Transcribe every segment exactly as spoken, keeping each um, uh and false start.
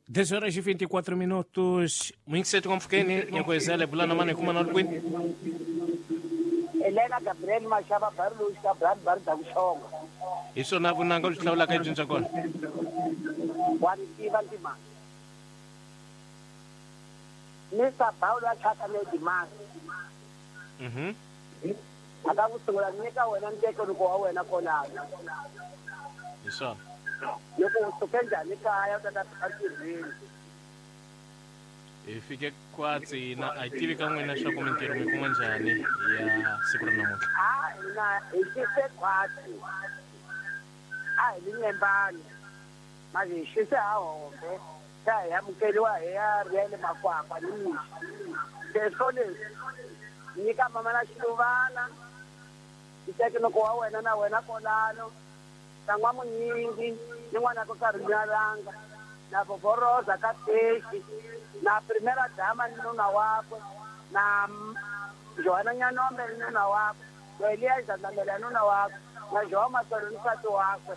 Dez horas e vinte e quatro minutos. Muito cedo como fiquei, né? Nhacoezela, Bulana Mane, como não Queen. Helena Gabriel Machaba Barlus, Cabral Bardabushong. Isso na Vunanga, Laula Kajunjakon. Nessa Paula Chata Lady Man. Uhum. Akakusungula nyika wena nteko loko wena kona. Isso. Loko u suke njhani kaya u ta ta fika ntirhweni? Hi fike kwatsi na a hi tivi ka n'wina swa ku mintirho mi kuma njhani ya siku ra namuntlha. A hina hi xise khwatsi. A hi li nyembani. Manje hi xise ha hombe. Se hi amukeriwa hi ya riyele makwakwa ni mixo. Se swo leswi nyika mama na xiluvana ntekinoko wa wena na wena kolano na munyingi ni n'wana ko karhi nyalanga na vovoroza ka teki na primera dama ni nuna wakwe na Joana Nyanombe ni nuna wakwe na Elias Ndamela nuna wakwe na João Matolo ni nsati wakwe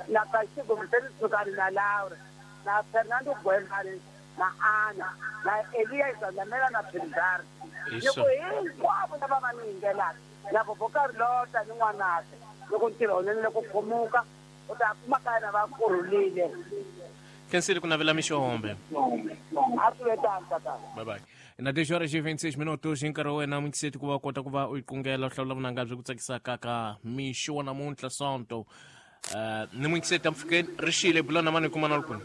na Kashigo Mseni na Laura na Fernando Gwemani na Ana na Elias Ndamela na Pindar. Loko hinkwavo lava va ni yingelaka na vovokarlota ni n'wanakwe loko ntirho wunene loko khumuka u ta kuma kaya na va kurhulile. Khensile ku navela mixo hombe. A swi ve tano tatana. Bye bye. Na dez horas e vinte e seis minutos hi nkarhi wa wena muyingiseti ku va kota ku va u yi qungela u hlawula vunanga byi ku tsakisaka ka mixo wa namuntlha Sonto. Uh, ni muyingiseti ampfhukeni ri xile Bulana Mane kuma na kwini.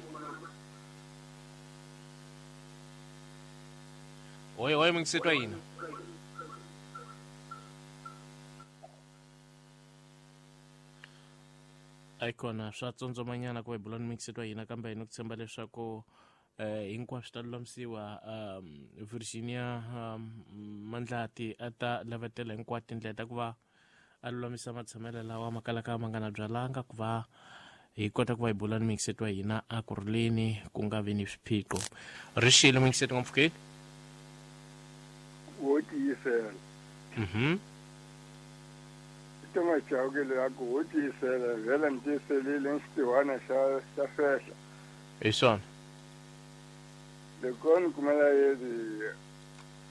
Oi oi muyingiseti wa hina. Ayikona swa tsondzomanyana ku va hi bula ni muyingiseti wa hina kambe hi ni ku tshemba leswaku eh hinkwaswo swi ta lulamisiwa. um Virginia um, Mandlati a ta lavetela hinkwato tindlela ta ku va a lulamisa matshamelo lawa ma kalaka ma nga na byalanga ku va hi kota ku va hi bula ni muyingiseti wa hina a kurhuleni ku nga vi ni swiphiqo. Ri xile muyingiseti ngopfukeni. Wo tiyisela. Mhm. Toma chauke le aku wo tiyisela vhele ni tiyiselile ni xitiwana xa xa fehla. Hi swona. Loko ni kumela yezi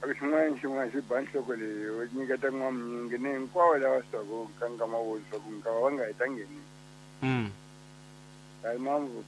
a ku xin'wana xin'wana xi ba nhloko leyi u nyiketa n'wamunyingi ni hinkwawo lava swaku ka nkama wo swaku nkava va nga hi ta ngheni. Mm. Kayi mamvu